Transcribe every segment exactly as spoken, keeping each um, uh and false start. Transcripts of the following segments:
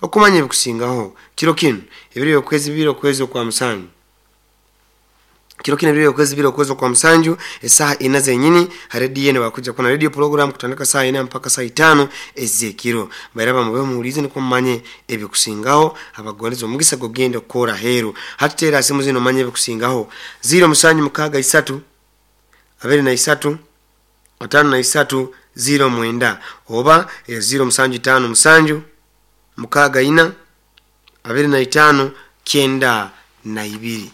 Okumanya ebikusingaho kiro kinu ebiro by'okwezi bibiri okwezi okwa musanju kiro kino ebiro by'okwezi bibiri okwezi okwa musanju esaaha ina zenyini ha rediyo eno bakuja kuba na radio program kutandika saaha ina mpaka saaha itaano ez'ekiro. Bairaba mube muhuliize nukwo mumanye ebikusingaho abagondeza omugisa gogenda kukora aheeru. Hati teera simu zino omanye ebikusingaho ziro musanju mukaaga isatu abiri na isatu ataano na isatu ziro mwenda oba eh, ziro musanju itaano musanju mukaaga ina abiri na itaano kyenda na ibiri.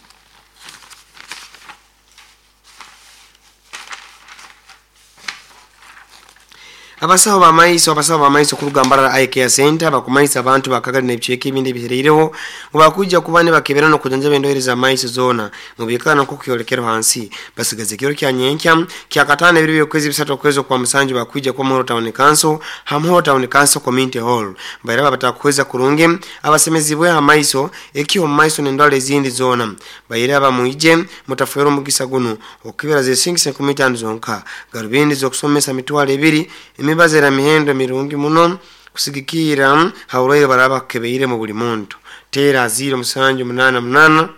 Abasawo b'amaiso abasawo b'amaiso kuruga Mbarara Eye Care Center bakumaisa abantu bakagali n'ebicweka ebindi ebihereireho ngu bakwija kuba nibakebera n'okujanjaba endwaire z'amaiso zoona mubiikana nk'okukyolekero hansi. Basigaze ekiro kya nyenkya kya kataano ebiro by'okwezi bisatu okwezi okwa musanju bakwija kuba Muhoro Town Council ha Muhoro Town Council Community Hall. Bairaba batakuhweza kurungi abasemezibwe amaiso ekiho mu maiso n'endwara ezindi zoona. Bairaba mwije mutafeera omugisa guno okukebera zesingisa enkumi itaano zonka garubindi z'okusomesa mitwalo ebiri emibazi era mihendo mirungi muno kusigikira ha burwaire baraba bakukebeire mu buli muntu. Teera ziro musanju munaana munaana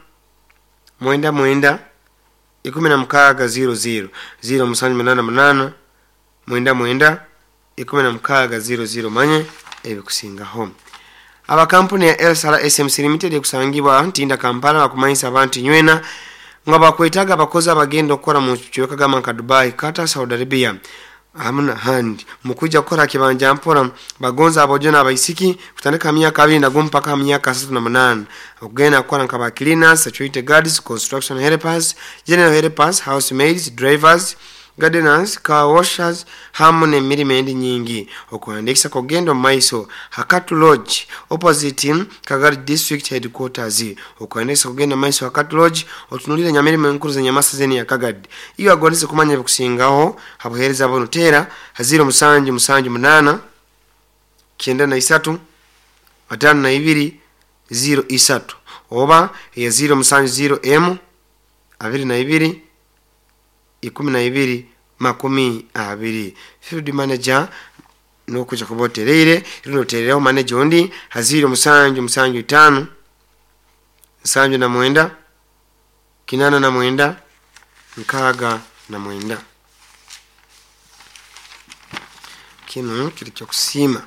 mwenda mwenda ikumi na mukaaga ziro ziro ziro musanju munaana munaana mwenda mwenda ikumi na mukaaga ziro ziro manye ebikusingaho. Abakampuni ya Elsala S M C Limited ekusangibwa Ntinda Kampala bakumanyisa abantu nywena nga bakwetaaga abakozi abagenda okukora mu kicweka gamba nka Dubai, Qatar, Saudi Arabia hamuna handi mukuja kukora kibanja mpora. Bagonza abojo n'abaisiki kutandika myaka abiri na gumu mpaka myaka asatu na munaana okugenda kukora nka ba cleaners, security guards, construction helpers, general helpers, housemaids, drivers, gardeners, car washers hamu n'emirimo endi nyingi. Okuhandiikisa kugenda omu maiso Hakatu Lodge opposite Kagadi District Headquarters. Okuhandiikisa kugenda omu maiso Hakatu Lodge otunulire nyamirimo enkuru z'enyamasa zeni ya Kagadi. Iyo agondeze kumanya ebikusingaho habuheereza buno teera ziro musanju musanju munaana kyenda na isatu ataano na ibiri ziro isatu oba eya ziro musanju ziro emu abiri na ibiri ikumi na ibiri makumi abiri. Field manager nokuja kuba otereire rundi oterereho manager ondi haziro musanju musanju itaano nsanju na mwenda kinana na mwenda nkaaga na mwenda. Kinu kiri kyokusiima.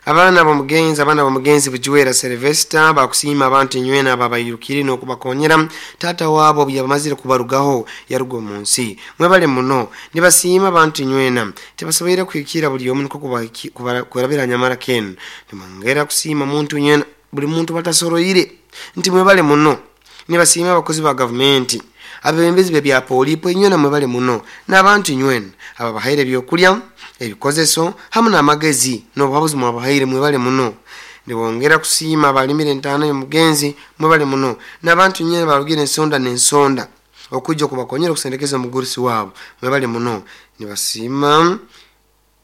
Abaana b'omugenzi abaana b'omugenzi Bujuwera Sylvester bakusiima abantu nywena ababayirukire n'okubakonyera taata waabo obu yabamazire kubarugaho yaruga omu nsi. Mwebale muno nibasiima abantu nywena tebasoboire kuhikira buli omu niko kurabira nyamara kenu. Nimwongera kusiima muntu nywena buli muntu batasoroire nti mwebale muno. Nibasiima abakozi ba gavumenti abebembezi b'ebya polipo nywena mwebale muno n'abantu nywena ababahaire ebyokulya ebikozeso hamu n'amagezi n'obuhabuzi mwabahaire mwebale muno. Nibongera kusiima abalimire entaano y'omugenzi mwebale muno n'abantu nywena barugire ensonda n'ensonda okujja okubakonyera okusendekeza omugurusi waabo mwebale muno. Nibasiima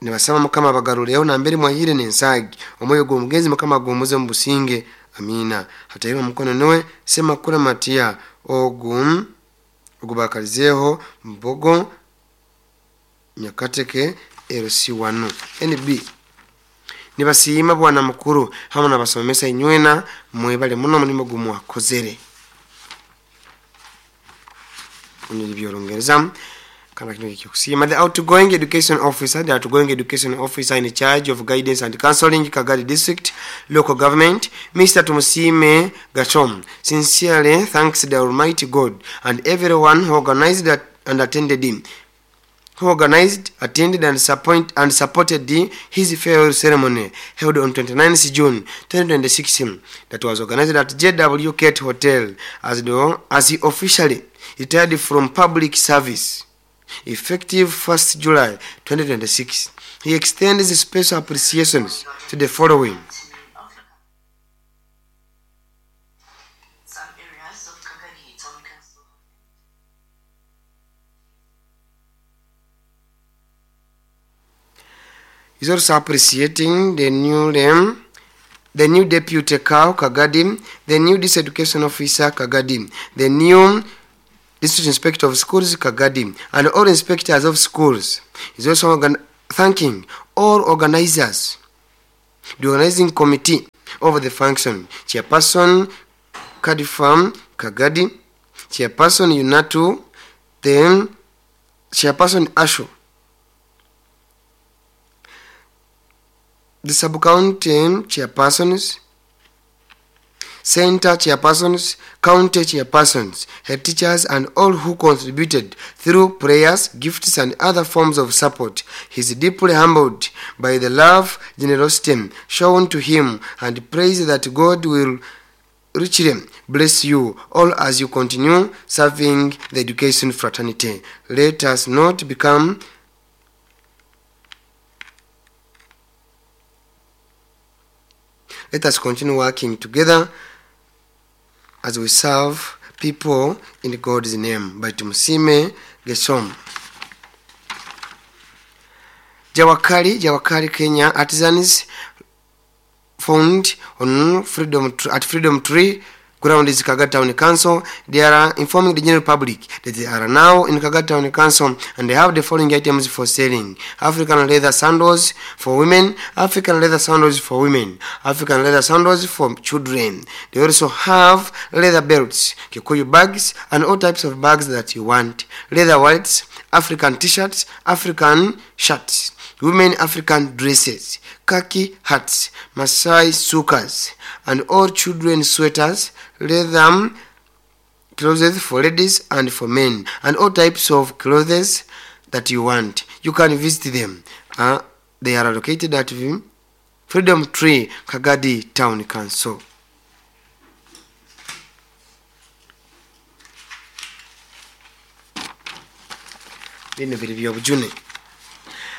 nibasaba Mukama abagarureho nambere mwahire n'ensaagi omwoyo gw'omugenzi Mukama agumuze mu businge amiina. Hatairwe omukono niwe Semakula Matiya ogu ogubakalizeeho Mbogo Nyakateke L C one N B. Nibasiima bwana mukuru hamu n'abasomesa inywena mwebale muno omulimo gumwakozere. Byolongereza kana kino kyokusiima. The outgoing education officer, the outgoing education officer in charge of guidance and counseling Kagadi District Local Government, Mister Tumusime Gachom, sincerely thanks the Almighty God and everyone who organized and attended him, who organized, attended and support and supported the, his farewell ceremony held on twenty-ninth June twenty twenty-six that was organized at J W Kate Hotel as, the, as he officially retired from public service effective first July twenty twenty-six. He extends special appreciations to the following. Some areas of Kagadi Town Council is also appreciating the new um, the new deputy cow Kagadi, the new district education officer Kagadi, the new district inspector of schools Kagadi, and all inspectors of schools. Is also organ thanking all organizers, the organizing committee, Of the function, Chairperson Kadifam Kagadi, Chairperson Yunatu, then Chairperson Ashu, the sub-county chairpersons, center chairpersons, county chairpersons, head teachers, and all who contributed through prayers, gifts, and other forms of support. He is deeply humbled by the love, generosity shown to him, and prays that God will richly bless you all as you continue serving the education fraternity. Let us not become Let us continue working together as we serve people in God's name. By Tumusime Gesom. Jawakali, Jawakali, Kenya artisans found on Freedom at Freedom Tree ground is Kagat Town Council. They are informing the general public that they are now in Kagat Town Council and they have the following items for selling: African leather sandals for women, African leather sandals for women, African leather sandals for children. They also have leather belts, Kikuyu bags, and all types of bags that you want, leather wallets, African t-shirts, African shirts, women African dresses, khaki hats, Masai sukas, and all children's sweaters, leather clothes for ladies and for men, and all types of clothes that you want. You can visit them. Uh, they are located at Freedom Tree, Kagadi Town Council. Bino biri byobujune.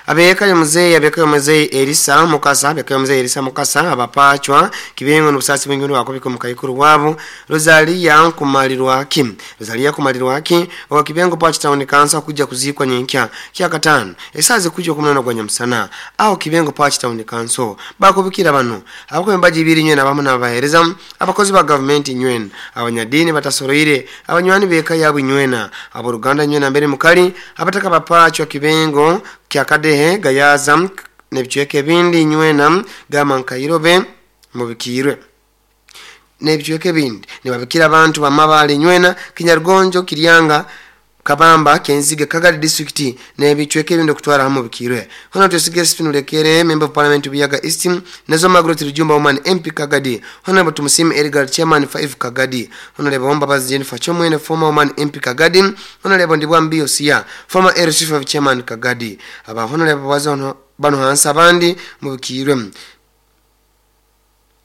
Abeka muzeyi abeka muzeyi Elisa Mukasa abeka muzeyi Elisa Mukasa abapachwa kibengo n'ubusasi bw'ingiro wakobika mukayikuru wabo Rosalia Nkumalirwaki Rosalia Kumalirwaki wa Kibengo Pachi Town Council kujja kuzikwa nyenkya kya katano esaze kujja kumnana gwa nyamusana aho Kibengo Pachi Town Council bakubikira bano abako mbaji ibiri nywe nabamu nabahereza abakozi ba government nywena abanyadini batasoroire abanywani beka yabo nywena abo Ruganda nywena mbere mukali abataka bapachwa Kibengo kyakadehe gayaza nebichweke bindi nywena gama nkairobe mubikirwe nebichweke bindi nibabikira abantu bamabale nywena Kinyarugonjo Kiryanga Kabamba Kenzige Kagadi district nebichweke bindi kutwara hamu bikirwe hono tusige spinulekere member of parliament Buyaga East nazo Margaret Rujumba woman M P Kagadi hono Tumusiime Edgar chairman five Kagadi hono lebo Mbabazi Jennifer Chomwene former woman M P Kagadi hono lebo Ndibwa Mbio Sia former L C five chairman Kagadi aba hono lebo bazono bano hansa abandi mubikirwe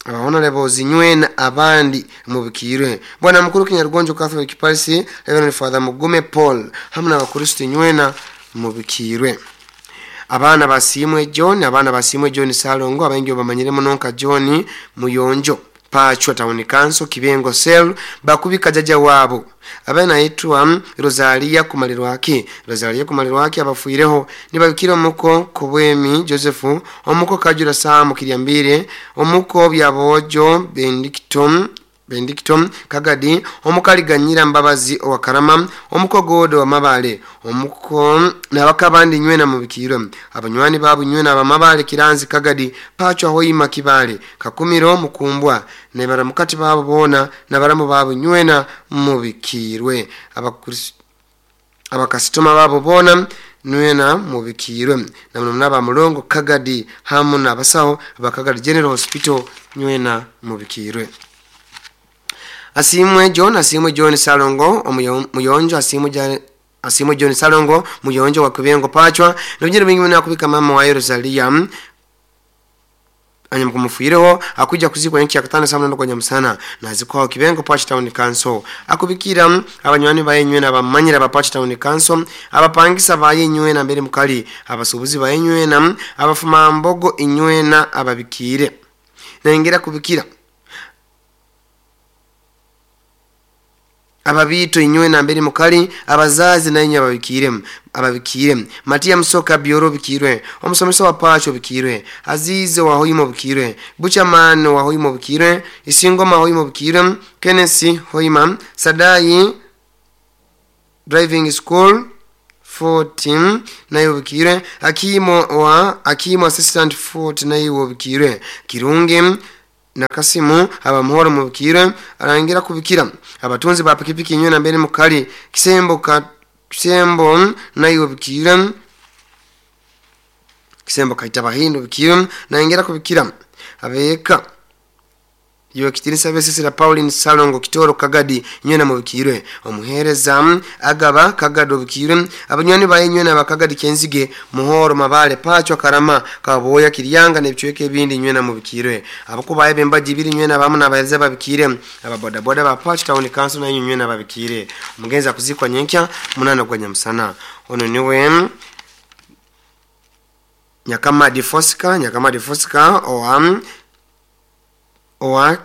aba honorable zinywena abandi mubikirwe bwana mukuru Kinyarugonjo Catholic Parish Reverend Father Mugume Paul hamwe n'abakristo nywena mubikirwe abana basimwe John abana basimwe John Salongo abengi bamanyire munonka John Muyonjo Pachwa Town Council Kibengo Cell bakubika jaja wabo abana yitwa Rosalia Kumalirwaki Rosalia Kumalirwaki abafuireho nibabikira omuko Kobwemi Joseph omuko Kajura Sam Kiryambire omuko Byabojo Benedictum Benedictum Kagadi omukaliganyira Mbabazi owakarama omuko Godo wa omuko nabakabandi nywena mubikiro abanywani babu nywena abamabale Kiranzi Kagadi Pachwa Hoima Kibale Kakumiro Mukumbwa nebaramukati babo bona nabaramu babu nywena mubikirwe abakasitoma babo bona nywena mubikirwe namuna mulongo Kagadi hamu nabasaho abakagadi General Hospital nywena mubikirwe. Asimwe John Asimwe John Salongo Muyonjo Asimwe John Asimwe John Salongo Muyonjo wa Kibengo Pachwa nobjira bingi muna kubika mama wa Rosalia anyamkumufuireho akuja kuzikwa nchi ya katano samna kwa nyamusana na zikwa Kibengo Pachi Town Council akubikira abanywani bayenywe na bamanyira ba Pachi Town Council abapangisa bayenywe na mbere mukali abasubuzi bayenywe na abafuma mbogo inywe na ababikire nengera kubikira ababito inywe na mbere mukali abazazi na inyo ababikire ababikire Matia Msoka Bioro bikirwe omusomesa wa Pacho bikirwe Azize wa Hoimo bikirwe Buchaman wa Hoimo bikirwe Isingoma Hoimo bikirwe Kenneth Hoima Sadai Driving School fourteen nayo bikirwe Akimo wa Akimo Assistant forty nayo bikirwe Kirunge Nakasimu abamuhoro mubikire arangira kubikira abatunzi ba pikipiki nywena mbere mukali kisembo ka kisembo nayo bikire kisembo kaita bahindo bikire naingira kubikira abeka yo kitinisa besisira Pauline Salongo Kitoro Kagadi nywena mubikire omuhereza agaba Kagado bikire abanywani baye nywena bakagadi kenzige muhoro mabale pachwa karama kaboya kiryanga nebicweke ebindi nywena mubikire abakubaye bembaji biri nywena bamu nabahereza babikire ababoda boda ba Pacho Town Council na nywena babikire omugenza kuzikwa nyenkya munana gwa nyamusana ono niwe Nyakama Difosika Nyakama Difosika oam owa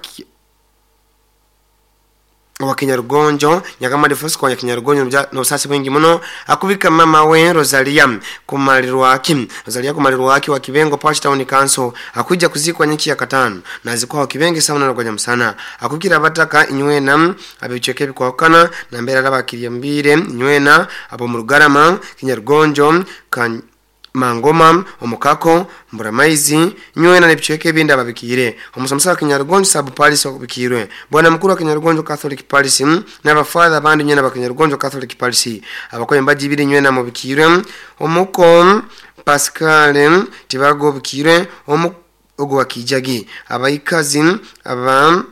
owa Kinyarugonjo Nyakama Difosika wa Kinyarugonjo n'obusasi bwingi muno akubika mama we Rosalia kumalirwaki Rosalia kumalirwaki wa Kibengo Pacho Town Council akuja kuzikwa nyiki ya katano na zikwa Kibenge sauna na kwa msana akukira bataka inywena abicheke bikwakana na mbere arabakiriye mbire inywena abo mu Rugarama Kinyarugonjo kan Mangoma omukako mburamaizi nywena nebicheke ebindi ababikire omusomesa wa Kinyarugonjo sub parish okubikirwe bwana mukuru wa Kinyarugonjo Catholic Parish n'abafather abandi nywena ba Kinyarugonjo Catholic Parish abakoye mbaji ibiri nywena mubikirwe omuko Pascal tibago bikirwe omu ogo wakijagi abaikazi aba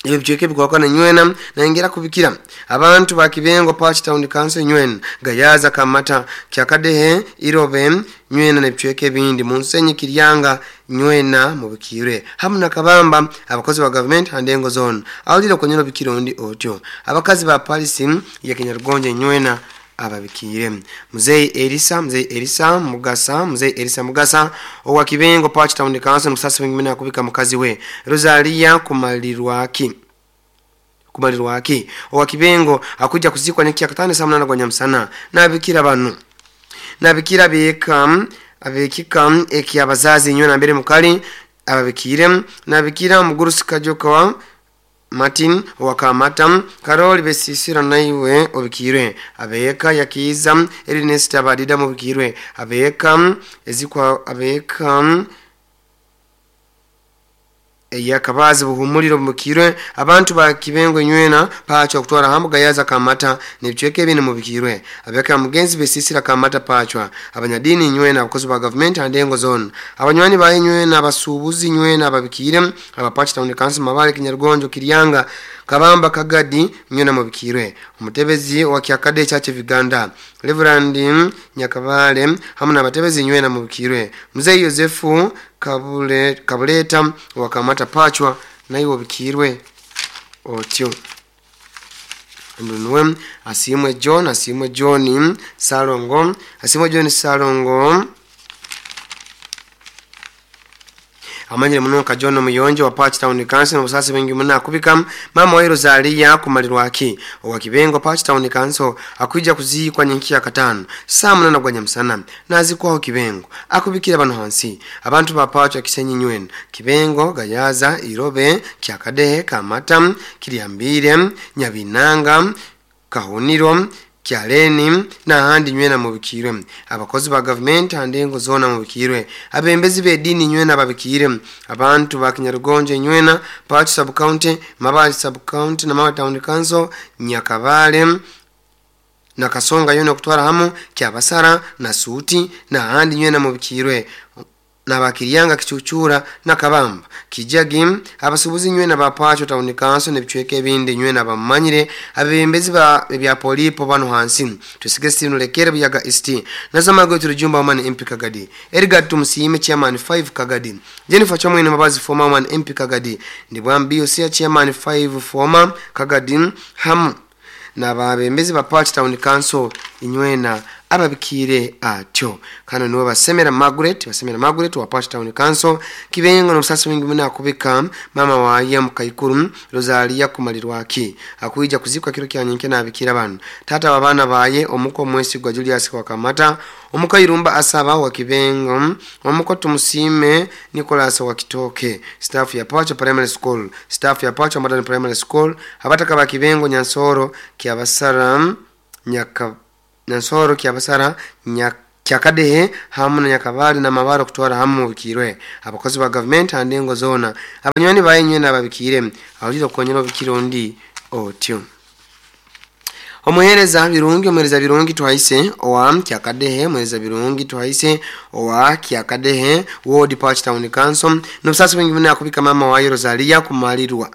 ebicheke bikwakana nywena naingira kubikira abantu ba Kibengo Pacho Town Council nywena gayaza kamata kyakadehe irobe nywena nebicheke bindi munsenyi kiryanga nywena mubikire hamna kabamba abakozi ba government handengo zone awulira konyero bikirondi otyo abakazi ba Paris ya Kinyarugonjo nywena ababikire Mzee Elisa Mzee Elisa Mugasa Mzee Elisa Mugasa owa Kibengo Pacho Town Council musasi wengine akubika mukazi we Rosalia kumalirwaki kumalirwaki owa Kibengo akuja kuzikwa niki akatane saa munana gwa nyamusana nabikira banu nabikira beka abekika eki abazazi nywena mbere mukali ababikire nabikira mugurusi kajoka Martin wakamata Karoli besisira naiwe obikirwe abeka yakiza Ernest abadida mubikirwe abeka ezikwa abeka eyakabazi buhumuliro mubikirwe abantu ba Kibengo nywena pachwa kutwara hamu gayaza kamata nebichweke ebindi mubikirwe abeka mugenzi besisira kamata pachwa abanyadini nywena abakozi ba government andengo zone abanywani baye nywena abasubuzi nywena ababikire abapachi Town Council mabale Kinyarugonjo Kiryanga Kabamba Kagadi nywena mubikirwe umutebezi wa Kyakade Church of Uganda Reverend Nyakabale hamwe n'abatebezi nywena mubikirwe Mzee Yosefu Kabule Kabuleta wakamata pachwa naiwo bikirwe otyo ndunwe asimwe John asimwe John Salongo asimwe John Salongo amanyire muno ka John Muyonjo wa Pacho Town Council n'obusasi bwingi muno akubika mama wa Rosalia kumalirwaki owa Kibengo Pacho Town Council akuja kuzikwa nyenki ya katano saa munana gwa nyamusana nazikwaho Kibengo akubikira bano hansi abantu ba Pacho Kisenyi nywena Kibengo Gayaza Irobe Kyakadehe Kamata Kiryambire Nyabinanga Kahuniro Kyaleni na handi nywena mubikirwe abakozi ba government handengo zona mubikirwe abembezi bedini nywena babikire abantu ba Kinyarugonjo nywena Pacho sub county Mabali sub county na Mabali Town Council Nyakabale na Kasonga yone kutwara hamu Kyabasara na Suti na handi nywena mubikirwe na bakiryanga kichuchura na kabamba kijagi abasubuzi nywena ba Pacho Town Council nebichweke ebindi nywena bamanyire abembezi ba bya polipo bano hansi tusige sinu lekere buyaga East nazamago turujumba woman M P Kagadi Edgar Tumusiime chairman five Kagadi Jennifer Chomwene Mabazi former woman M P Kagadi Ndibwambi Osia chairman five former Kagadi hamu na babembezi ba Pacho Town Council inywena ababikire atyo kano niwe basemera Margaret basemera Margaret wa Pacho Town Council Kibengo n'obusasi bwingi muno akubika mama waye mukaikuru Rosalia kumalirwaki akuija kuzikwa kiro kya nyenke nabikira bano tata wabana baye omuko Mwesigwa Julius wakamata omuko Irumba asaba wa Kibengo omuko Tumusiime Nicholas wa Kitoke staff ya Pacho Primary School staff ya Pacho Modern Primary School abataka ba Kibengo Nyansoro Kyabasara Nyaka Nyansoro Kyabasara Nyak Kyakadehe hamu na Nyakabali na Mabaro kutwara hamu mubikirwe abakozi ba government handengo zona abanywani bayinywe nababikire awulira okukonyera obikire ondi otyo. Omuhereza birungi omuhereza birungi twaise owa Kyakadehe omuhereza birungi twaise owa Kyakadehe Ward Park Town Council n'obusasi bwingi buna akubika mama wa Rosalia kumalirwa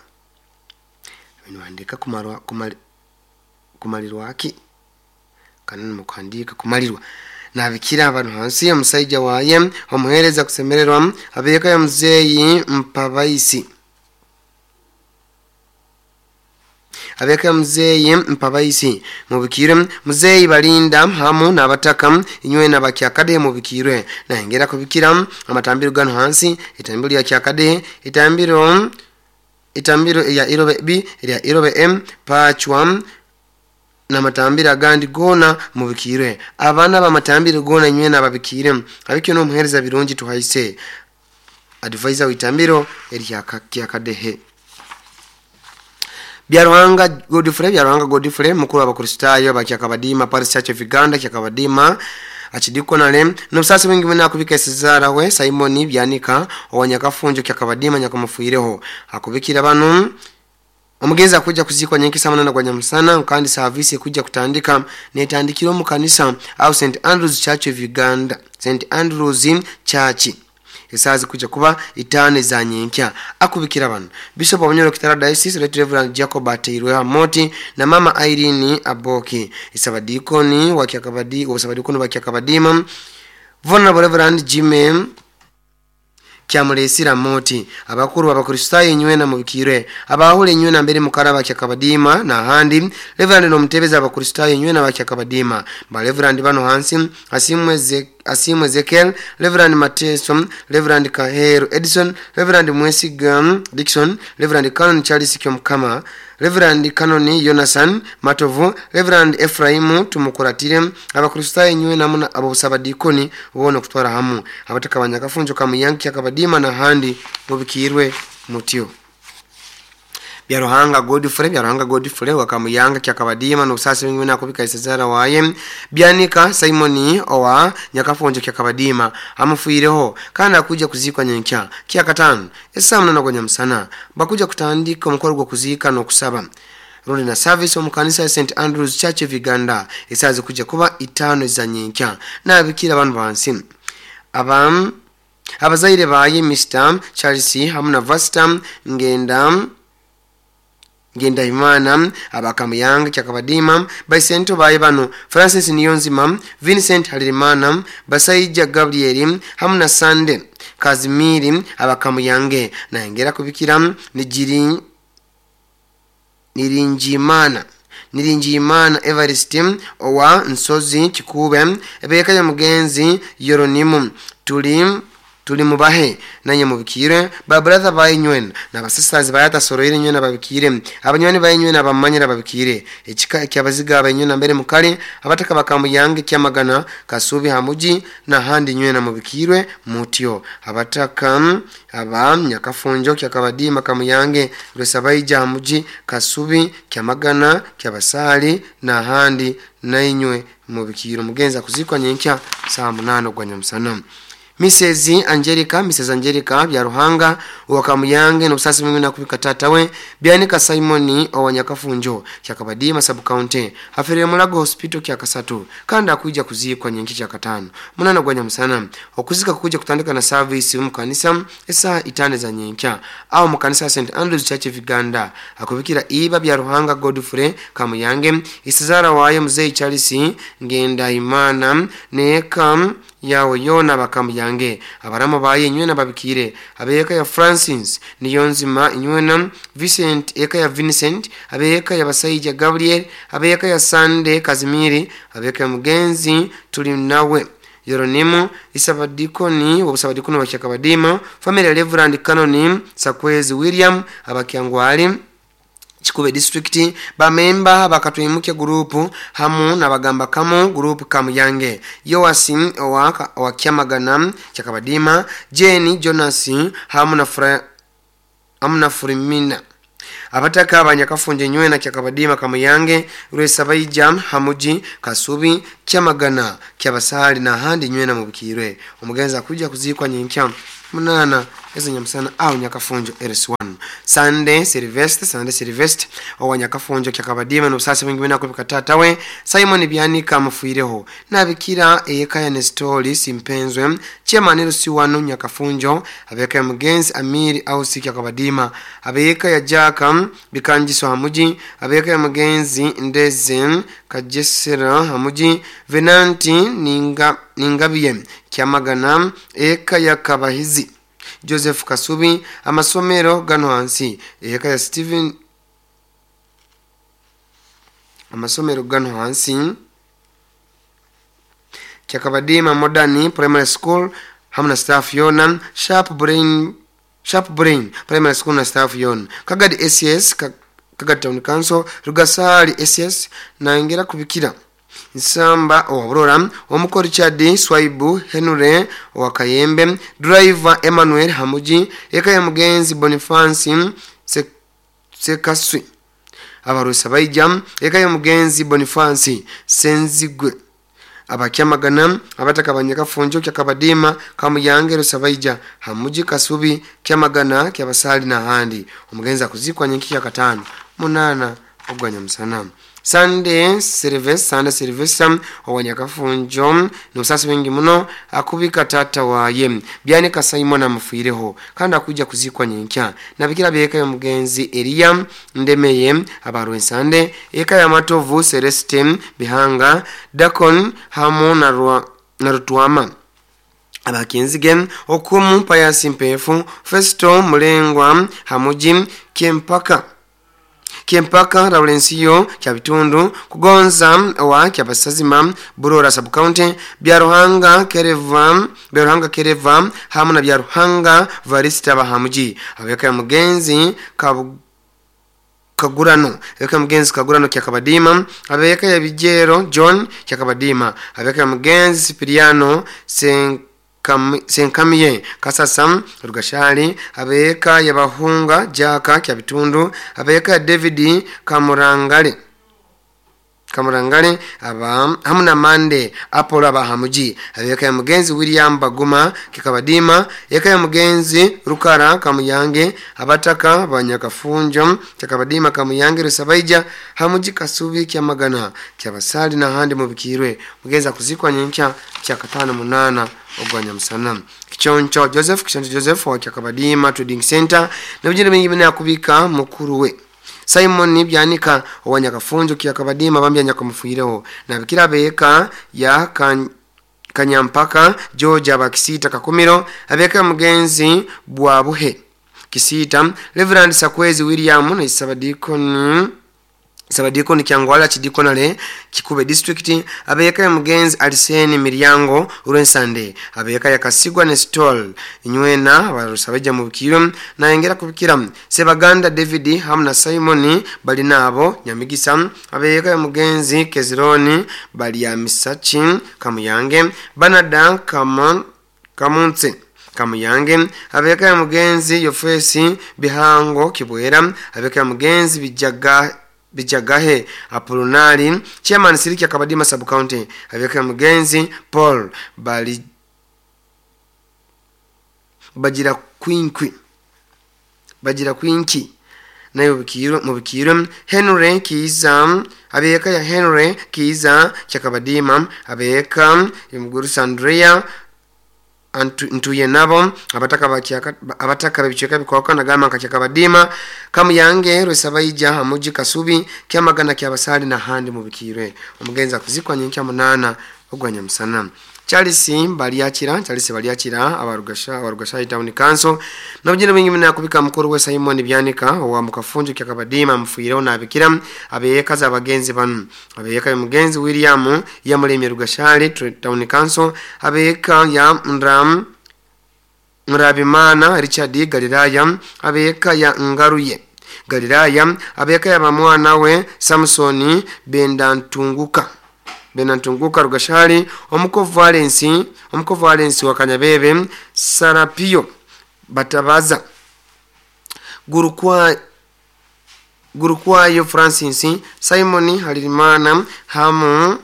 niwandika kumarwa kumali, kumalirwa ki kanani mukuhandika kumalirwa nabikira abantu hansi omusajja waye omuhereza kusemererwa abeka ya muzeyi mpabaisi abeka muzeyi mpabaisi mubikire muzeyi balinda hamu n'abataka inywe n'abakyakade mubikirwe nahengera kubikira amatambiro gano hansi itambiro ya Kyakade itambiro itambiro ya Irobe B ya Irobe M pachwa na matambira gandi gona mubikirwe abana bamatambiro gona inywe n'ababikire abikyo no muhereza birungi tuhaise advisor witambiro erya Kyakadehe. Byaruhanga Godfrey Byaruhanga Godfrey mukuru w'abakristayo bakyakabadima Parish Church of Uganda Kyakabadima achidikonale n'obusasi bwingi buna akubika Cesar we Simon Byanika owanyakafunjo Kyakabadima nyakamufuireho akubikira bano omugenzi akuja kuzikwa nyenki samana na gwanyamusana kandi service kuja kutandika netandikiro mu kanisa au Saint Andrews Church of Uganda Saint Andrews Church esazi kuja kuba itane za nyenkya akubikira bano Bishop wa Bunyoro Kitara Diocese Right Reverend Jacob Ateirwe Hamoti na Mama Irene Aboki isabadikoni wa Kyakabadi obusabadikoni wa Kyakabadima Vulnerable Reverend Jimmy Kyamulesira Moti abakuru abakristayo inywe na mubikirwe abahule inywe na mbere mukaraba Kyakabadima na handi Reverend no mutebeza abakristayo inywe na Kyakabadima ba Reverend bano hansi asimwe Asimwe Ezekiel Reverend Mateso Reverend Kahero Edison Reverend Mwesiga Dixon Reverend Canon Charles Kyomkama Reverend Canon Jonathan Matovu Reverend Ephraim Tumukuratire abakristayo inywe namuna abo sabadikoni ubone kutwara hamu abataka banyakafunjo kamuyanki Kyakabadima na handi mubikirwe mutyo. Byaruhanga Godfrey Byaruhanga Godfrey wakamuyanga Kyakabadima n'obusasi bwingi nakubika Cesar waye Byanika Simoni owa Nyakafunjo Kyakabadima amufuireho kandi akuja kuzikwa nyenkya Kyakatano esamu na gwanyamusana bakuja kutandika omukoro gwo kuzika n'okusaba rundi na service omu kanisa ya Saint Andrews Church of Uganda esazi kuja kuba itano za nyenkya nabikira abantu bansi abam abazaire baye Mister Charles hamu na Vasta ngenda Ngenda Imana abakamuyanga Kyakabadima baisento baye bano Francis Niyonzima Vincent Halirimana Basaija Gabriel hamu na Sande Kazimiri abakamuyange nahengera kubikira nijiri Nirinjimana Nirinjimana Everest owa Nsozi Kikube ebeka ya mugenzi Yoronimu tuli tuli mubahe nanye mubikire ba brother bayinywen na basisters bayata soroire nywe na babikire abanywani bayinywe na bamanyira babikire ekika ekyabaziga abayinywe na mbere mukali abataka bakamuyange Kyamagana Kasubi hamuji na handi nywe na mubikirwe mutyo abataka aba Nyakafunjo Kyakabadima Kamuyange Rwesabaija hamuji Kasubi Kyamagana Kyabasali na handi nainywe mubikiro mugenza kuzikwa nyenkya saa munano gwanyamusana. Missus Angelica Missus Angelica Byaruhanga wakamuyange n'obusasi bwingi nakubika tatawe Byanika Simoni owa Nyakafunjo Kyakabadima sub county afere Mulago Hospital Kyakasatu kandi akuja kuzikwa nyenki Kyakatano munana gwanyamusana okuzika kuja kutandika na service mu kanisa esa itane za nyenkya au mu kanisa Saint Andrews Church of Uganda akubikira iba Byaruhanga Godfrey Kamuyange isizara waye Mzee Charles Ngenda Imana neka yawe yona bakamuyange abaramo baye inywe nababikire abeka ya Francis Niyonzima inywe na Vincent eka ya Vincent abeka ya Basaija Gabriel abeka ya Sande Kazimiri abeka ya mugenzi tuli nawe Yeronimo isabadikoni wabusabadikoni wa Kyakabadima family Reverend Canon Sakwezi William abakyangwali Kikube district bamemba bakatwimuke group hamu nabagamba kamu group Kamuyange Yoasi owa wa Kyamagana Kyakabadima Jenny Jonas hamu na Fra hamu na Furimina abataka abanyakafunje nywe na Kyakabadima Kamuyange Rwesabaija hamuji Kasubi Kyamagana Kyabasali n'ahandi nywena mubikirwe. Omugenzi akujja kuziikwa nyenkya munana ezenyamusana au Nyakafunjo L S one. Sunday Silvester Sunday Silvester owa Nyakafunjo Kyakabadima n'obusasi bwingi bwina kubika tata we Simon Byanika amufuireho nabikira eyekaya ne story simpenzwe chairman L C one Nyakafunjo abeka ya mugenzi Amiri Ausi Kyakabadima abeka ya Jaka Bikanjiso Hamuji abeka ya mugenzi Ndeze Kajesera Hamuji Venanti Ninga Ningabiye Kyamagana eka ya Kabahizi Joseph Kasubi amasomero gano hansi eka ya Steven amasomero gano hansi Kyakabadima Modern Primary School hamna staff yona Sharp Brain Sharp Brain Primary School na staff yona Kagadi S S Kagadi Town Council Rugasali S S na ingera kubikira Nsamba owaburora omuko Richard Swaibu Henry Wakayembe driver Emmanuel Hamuji eka ya mugenzi Boniface Sekaswi abarusa baija eka ya mugenzi Boniface Senzigwe abakyamagana abataka banyakafunjo Kyakabadima Kamuyange Rusabaija Hamuji Kasubi Kyamagana Kyabasali na handi omugenzi akuzikwa nyenki ya katano munana ogwanya musana. Sunday Service Sunday Service owanyakafunjo n'obusasi bwingi muno akubika tata waye Byanika Simon amufuireho kandi akuja kuzikwa nyenkya nabikira byeka ya mugenzi Elia Ndemeye abarwe Sunday eka ya Matovu Celeste Bihanga Dakon hamu na Rwa, na Rutwama abakinzige okumu Payasi Mpefu Festo Mulengwa Hamuji Kiempaka Kiempaka Laurencio Kyabitundu Kugonza wa Kyabasazima Burora Sub County Byaruhanga Kereva Byaruhanga Kereva hamu na Byaruhanga Varista Bahamuji abeka ya mugenzi Kabu Kagurano abeka mugenzi Kagurano Kyakabadima abeka ya Bijero John Kyakabadima abeka ya mugenzi Sipiriano Sen Senkamiye Kasasam Rugashali abeka ya Bahunga Jaka Kyabitundu abeka ya David Kamurangale Kamurangale aba hamuna Mande Apollo abahamuji abeka ya mugenzi William Baguma Kikabadima eka ya mugenzi Rukara Kamuyange abataka banyakafunjo Kyakabadima Kamuyange Rusabaija Hamuji Kasubi Kyamagana Kyabasali na handi mubikirwe mugenzi akuzikwa nyenkya kyakatano munana ogwanya musana. Kichoncho Joseph Kichoncho Joseph wa Kyakabadima Trading Center na bijine bingi bina kubika mukuru we Simon Byanika owanyakafunjo Kyakabadima bambya nyakamufuireho na bikira beka ya kan, Kanyampaka George abakisita Kakumiro abeka mugenzi Bwabuhe Kisita Reverend Sakwezi William na Isabadikoni Sabadikoni Kyangwala Chidikonale Kikube District abeka ya mugenzi Aliseni Miryango Urensande abeka ya Kasigwa Nestol Nywena abarusabeja mu bikiro na engera kubikira Sebaganda David hamna Simon balinabo Nyamigisa abeka ya mugenzi Kezironi bali ya Misachi Kamuyange Banada Kamon Kamunse Kamuyange abeka ya mugenzi Yofesi Bihango Kibwera abeka ya mugenzi Bijaga Bijagahe Apolonari chairman Siriki Kabadima Sub County abeka mugenzi Paul bali Bagira Kwinkwi Bagira Kwinki nayo bikiro mu bikiro Henry Kiza abeka ya Henry Kiza Kyakabadima abeka Imuguru Sandrea ntuye nabo abataka bakyaka abataka bicheka bikoka nagama kakyakabadima Kamuyange Rusabaija Hamuji Kasubi Kyamagana Kyabasali na handi mubikirwe omugenzi akuzikwa nyenkya munana ogwanya musana. Charles Baliachira Charles Baliachira abarugasha abarugasha Town Council nabujine bingi mina kubika mukuru we Simon Byanika owa mukafunjo Kyakabadima mfuireho na abikira abeyeka za abagenzi banu abeyeka mugenzi William Yamulemye Rugashali Town Council abeyeka ya Ndram Murabimana Richard Galilaya abeyeka ya Ngaruye Galilaya abeyeka ya mwana we Samsoni Bendantunguka Benantunguka Rugashali omuko Valence omuko Valence wa Kanyabebe Sarapio Batabaza Gurukwa Gurukwayo Francis Simon Halirimana hamu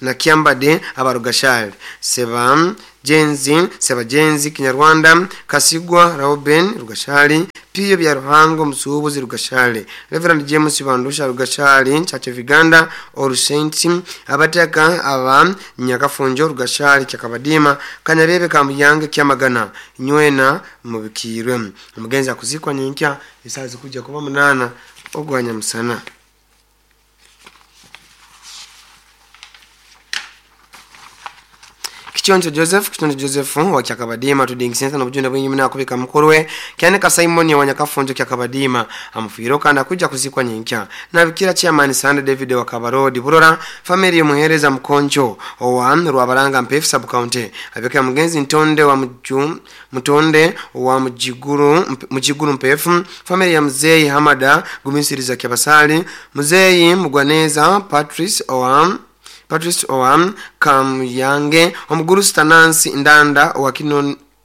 na Kyambade abarugashali Seba Jenzi Seba Jenzi Kinyarwanda Kasigwa Rauben Rugashali Piyo bya Ruhango Musubuzi Rugashali Reverend James Bandusha Rugashali Church of Uganda All Saints abataka aba Nyakafunjo Rugashali Kyakabadima Kanyabebe Kamuyange Kyamagana Nywena mubikirwe. Omugenzi akuzikwa nyenkya isazi kuja kuba munana ogwanya musana. Kichoncho Joseph Kichoncho Joseph wa Kyakabadima tudingisensa n'obujunda bwingi na kubika mukorwe kyaneka Simon wa Nyakafunjo Kyakabadima amufiro kandi kuja kuzikwa nyenkya na bikira chairman Sande David wa Kabarodi Burora family yomuhereza Mkoncho owa Rwabaranga Mpefu sub county abeka mugenzi Ntonde wa Mju Mtonde wa Mjiguru Mjiguru Mpefu family ya Mzee Hamada Gumisiriza Kyabasali Mzee Mugwaneza Patrice owa Patrice Oam Kamuyange omuguru Stanansi Ndanda wa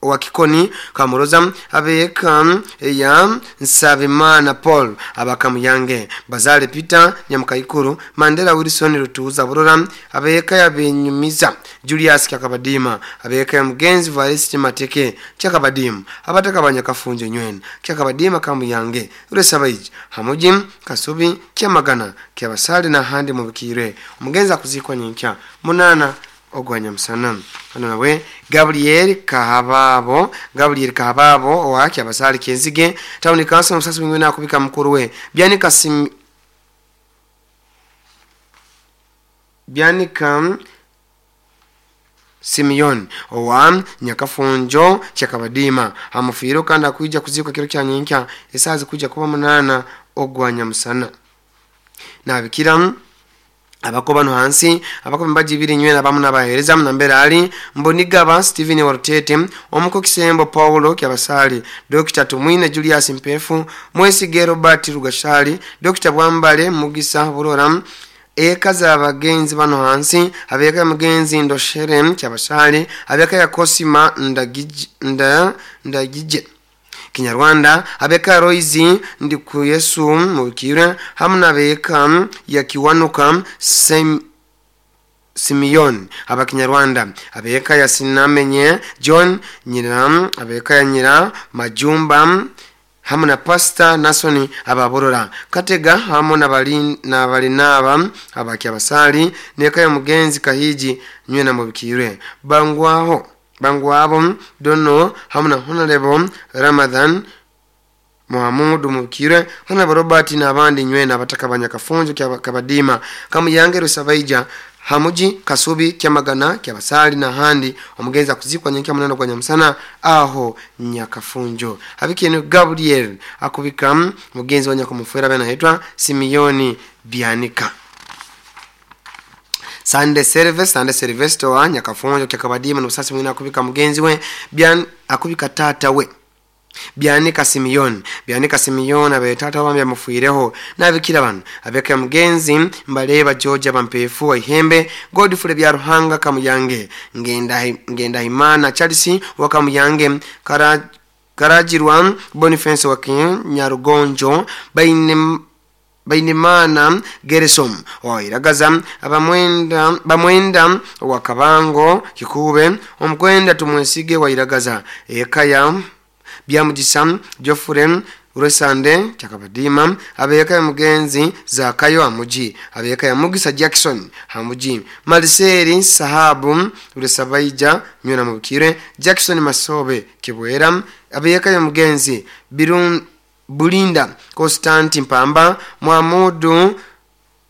wa Kikoni Kamuroza abeka ya Nsabimana Paul abakamuyange Bazale Peter Nyamukaikuru Mandela Wilson Rutuza Burora abeka ya Benyumiza Julius Kyakabadima abeka ya Mugenzi Varisi Mateke Kyakabadima abataka banyakafunje nywena Kyakabadima Kamuyange Uresabaiji Hamuji Kasubi Kyamagana Kyabasali na handi mubikire. Omugenzi akuzikwa nyenkya munana ogwanya musana. Hano nawe Gabriel Kahababo Gabriel Kahababo wa Kyabasali Kenzige Town Council musasi mwingine akubika mukuru we Byanika Sim Byanika Simeon owa Nyakafunjo Kyakabadima amufiro kandi akuija kuzikwa kiro kya nyenkya esazi kuja kuba munana ogwanya musana. Nabikira abakoba no hansi abakoba mbaji biri nywena bamu nabahereza mnambera ali Mbonigaba Steven Warutete omuko Kisembo Paulo Kyabasali Doctor Tumwine Julius Mpefu Mwesige Robert Rugashali Doctor Bwambale Mugisa Burora eka za bagenzi bano hansi abeka mugenzi Ndoshere Kyabasali abeka ya Kosima ndagije nda ndagije Kinyarwanda abeka Roizi Ndikuyesu mubikire hamwe nabeka ya Kiwanuka Sem Simeon abakinyarwanda abeka ya Sinamenye John Nyira abeka ya Nyira Majumba hamwe na Pastor Nasoni ababorora Katega hamwe na bali na balinaba abakyabasali neka ya mugenzi Kahiji nywe na mubikire bangwaho bangwabo dono hamwe na Honorable Ramadhan Muhammadu mubikire Honorable Robert n'abandi nywe n'abataka banyakafunjo Kabadima Kamuyange Rusabaija Hamuji Kasubi Kyamagana Kyabasali na handi omugenzi akuzikwa nyenkya munana kwa nyamusana aho Nyakafunjo. Habikeno Gabriel akubika mugenzi wa nyakumufera bana hetwa Simeoni Bianika. Sunday service Sunday service toa Nyakafunjo Kyakabadima n'usasi mwina akubika mugenzi we Bian akubika tata we Bianika Simeon Bianika Simeon abe tata wambe amufuireho nabikira bano abeka mugenzi mbaleba George bampefu wa Ihembe Godfrey bya Ruhanga Kamuyange ngenda ngenda Imana Charles wa Kamuyange Kara, Karajirwa Boniface wa Nyarugonjo Baine Bainemana Geresom wa Iragaza abamwenda bamwenda wa Kabango Kikube omukwenda tumwesige wa Iragaza ekaya Byamugisa Geoffrey Uresande Kyakabadima abeka ya mugenzi Zakayo Amuji abeka ya Mugisa Jackson Hamuji Maliseri Sahabu Uresabaija nyona mubikire Jackson Masobe Kibwera abeka ya mugenzi Birun Bulinda Constantine Mpamba Muhamudu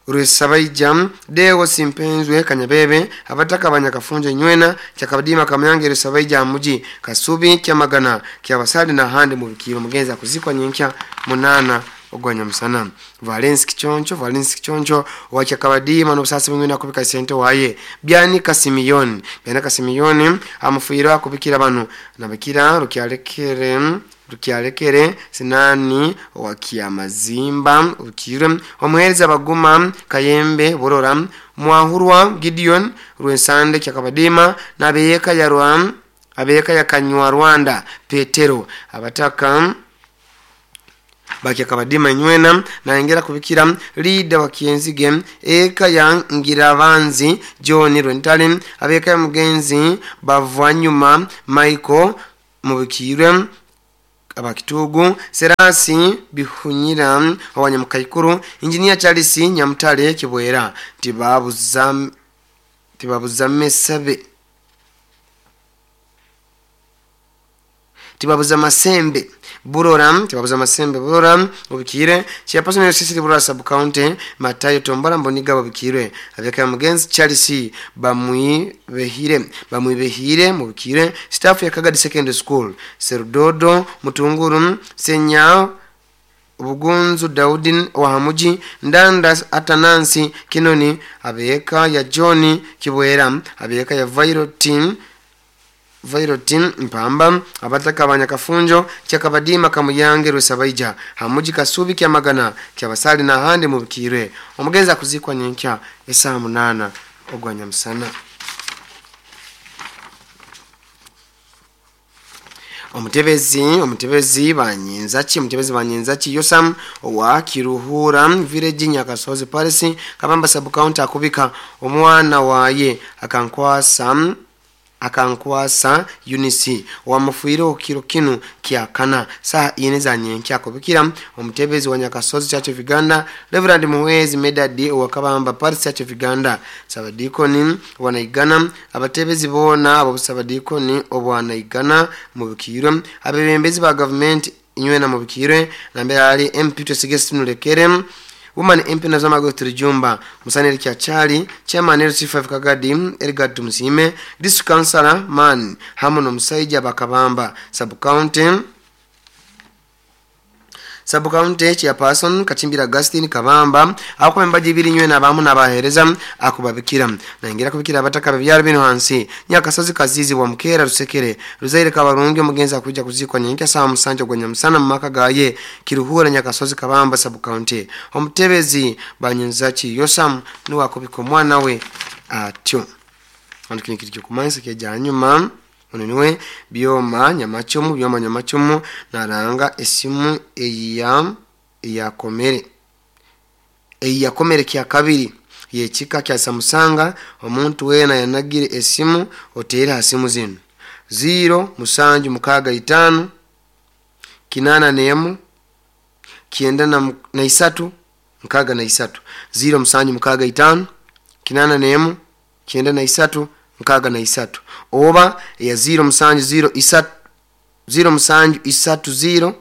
Rusabaija Deo Simpenzwe Kanyabebe abataka banyakafunje nywena Kyakabadima Kamuyange Rusabaija Muji Kasubi Kyamagana Kyabasali na handi mubikiro mugenzi akuzikwa nyenkya munana ogwanya musana. Valence Kichoncho Valence Kichoncho wa Kyakabadima n'obusasi bwingi nakubika sente waye Byanika Simeon Byanika Simeon amufuira akubikira bano nabikira rukyalekere rukyalekere sinani wa Kiamazimba ukire omuhereza baguma Kayembe Burora Mwahurwa Gideon Rwensande Kyakabadima nabeyeka ya Rwam abeyeka ya Kanywa Rwanda Petero abataka Bakyakabadima nywena nayongera kubikira leader wa Kienzige eka ya Ngirabanzi John Rwentale abeka ya mugenzi Bavanyuma Michael mubikirwe abakitugu Serasi Bihunyira Owanyamukaikuru Engineer Charles Nyamutale Kibwera tibabuza tibabuza mesabe tibabuza masembe Burora tibabuza masembe Burora ubikire chairperson ya Sisi Burora sub county Matayo Tombora Mboniga babikire abeka mugenzi Charles Bamwibehire Bamwibehire mubikire staff ya Kagadi Secondary School Serudodo Mutunguru Senya Bugunzu Daudin Wahamuji Ndanda Atanansi Kinoni abeka ya John Kibwera abeka ya Viral Team Vairotin Mpamba abataka abanyakafunjo kyakabadima kamuyange rwesabaija hamuji kasubi kya magana kyabasali na hande mubikire omugenza kuzikwa nyenkya esaa munana ogwanya musana. Omutebezi omutebezi banyinzaki omutebezi banyinzaki Yosam owa Kiruhura village Nyakasozi Paris Kabamba sub county akubika omwana waye akankwasa akankwasa Eunice wamufuire kiro kinu kyakana saa ine za nyenkya akubikira omutebezi wa Nyakasozi Church of Uganda Reverend Muhwezi Medadi wa Kabamba Paris Church of Uganda Sabadikoni wanaigana abatebezi bona abo Sabadikoni obwanaigana mubikirwe abebembezi ba government inywena mubikirwe nambere ali M P Twesigesi Nulekere Woman M P Nazama Gotri Jumba Musaneri Kyachali Chairman L C five Kagadi Edgar Tumsime District Councilor Man hamu no Musaija Bakabamba Sub County Sub County Chairperson Kachimbira Augustine Kabamba akomembaji biri nywe nabamu nabahereza akubabikira naingira kubikira abataka babyaro bino hansi Nyakasozi Kazizi wa Mukera Rusekere Ruzaire Kabarungi omugenzi akuja kuzikwa nyenkya saa musanju gwenya musana mu maka gaye Kiruhura Nyakasozi Kabamba Sub County omutebezi Banyinzaki Yosam niwe akubika omwana we atyo antu kino kiri kumansa kya nyuma oneniwe byoma nyamachomu byoma nyamachomu naranga esimu eya eyakomere eyakomere kya kabiri yechika kya Samsung omuntu wena yanagire esimu otera asimu zino zero musanju mukaga itano kinana nemu kienda na, na isatu mkaga na isatu zero musanju mukaga itano kinana nemu kienda na isatu mkaga na isatu oba ya zero musanju zero isatu zero musanju isatu zero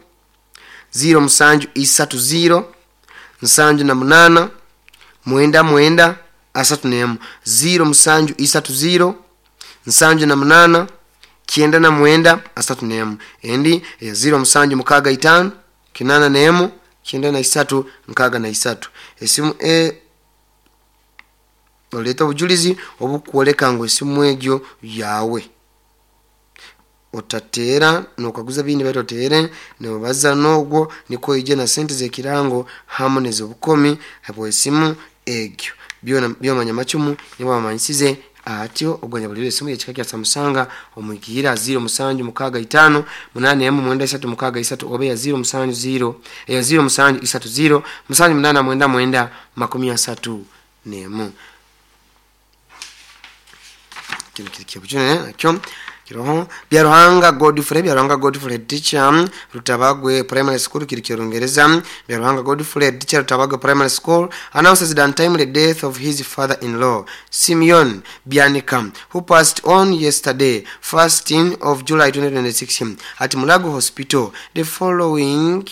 zero musanju isatu zero nsanju na munana mwenda mwenda asatu nemu zero musanju isatu zero nsanju na munana kienda na mwenda asatu nemu endi ya zero musanju mukaga itano kinana nemu kienda na isatu mkaga na isatu esimu e oleta obujulizi obukwoleka ngu esimu egyo yawe otateera nokaguza bindi baitu oteere nobaza nogwo niko ije na sente zekirango hamu nezobukomi habwesimu egyo byona byomanya machumu nibo bamanyisize atyo ogwanya bulire esimu yekika kya Samsung omwikira zero musanju mukaga itano munane emu mwenda isatu mukaga isatu obe ya zero musanju zero ya zero musanju isatu zero musanju munana mwenda mwenda makumi asatu nemu kino kiri kyabujune nakyo kiroho Byaruhanga Godfrey Byaruhanga Godfrey teacher Rutabagwe Primary School kiri kyongereza Byaruhanga Godfrey teacher Rutabagwe Primary School announces the untimely death of his father-in-law Simeon Byanika who passed on yesterday first of July twenty twenty-six at Mulago Hospital. The following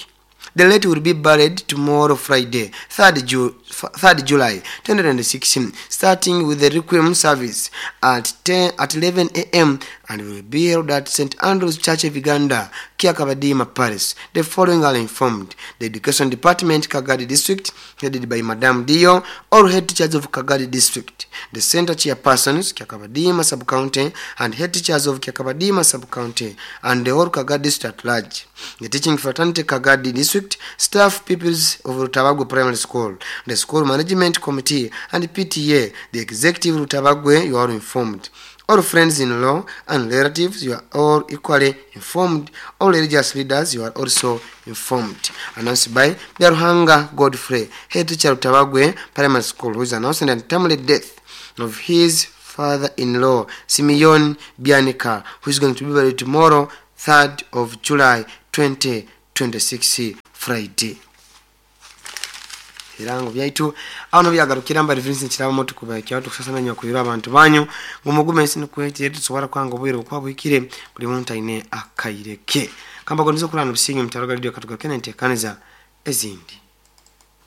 The late will be buried tomorrow Friday, third, Ju third July twenty twenty-six, starting with the Requiem service at ten at eleven A M and will be held at Saint Andrew's Church of Uganda, Kiakabadima, Paris. The following are informed: the Education Department, Kagadi District, headed by Madame Dio, all head teachers of Kagadi District, the center chairpersons, Kiakabadima Sub-County, and head teachers of Kiakabadima Sub-County, and the whole Kagadi District at large, the teaching fraternity Kagadi District, staff pupils of Rutabagwe Primary School, the School Management Committee, and P T A, the Executive Rutabagwe, you are informed. All friends in law and relatives, you are all equally informed. All religious leaders, you are also informed. Announced by Byaruhanga Godfrey, head teacher Rutabagwe Primary School, who is announcing the untimely death of his father-in-law, Simeon Bianika, who is going to be buried tomorrow, third of July twenty twenty-six, Friday. Ebirango byaitu aho byagarukira mbari Vincent Kirabo tukubaikya tukusasana nyakubira abantu banyu ngumugume ensi nukwete tusobora kwanga obwire bukwa bwikire buli muntu aine akaireke kamba gondizo kulana busingi mutaroga radio katugaruke n'enteekaniza ezindi.